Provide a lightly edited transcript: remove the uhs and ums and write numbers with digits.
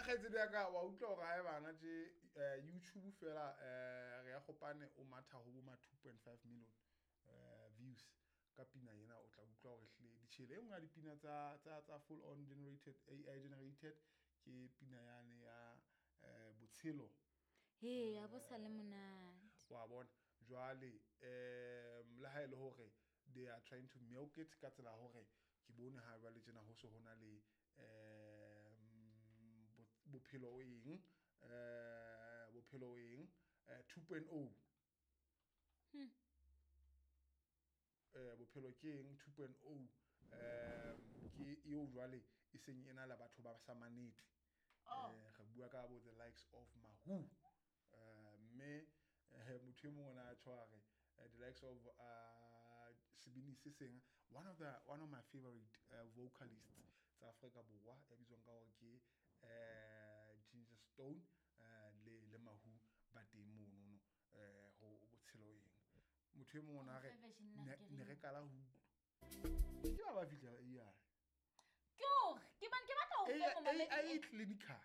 Kgaitsedi ya ka, wa utlwa hore ha e bana tje, YouTube fela, re ya kgopane o matha ho bo ma 2.5 million views ka pina ena. O tla utlwa hore hlile ditjhele e nngwe ya dipina tsa full on generated, AI generated, ke pina yane ya Botshelo. He, ya bo sa le monate. Wa bona jwale, le ha e le hore they are trying to milk it ka tsela hore ke bone ha jwale tjena ho se ho na le bophelo eng, bophelo eng, 2.0. Bophelo ke eng 2.0, ke eo jwale e seng e na le batho ba sa manete. Re bua ka bo the likes of Mahu, mme motho e mong o ne a tjho a re, the likes of sebini se seng, one of my favorite vocalists tsa Afrika Borwa ya bitswang ka hore ke Ginger Stone, le Mahu ba teng monono, ho Botshelo eng. Motho e mong o ne a re, ne re kala ho utlwa ke ba fihlela AI. Ke hore ke bane ke batla ho AI clinical.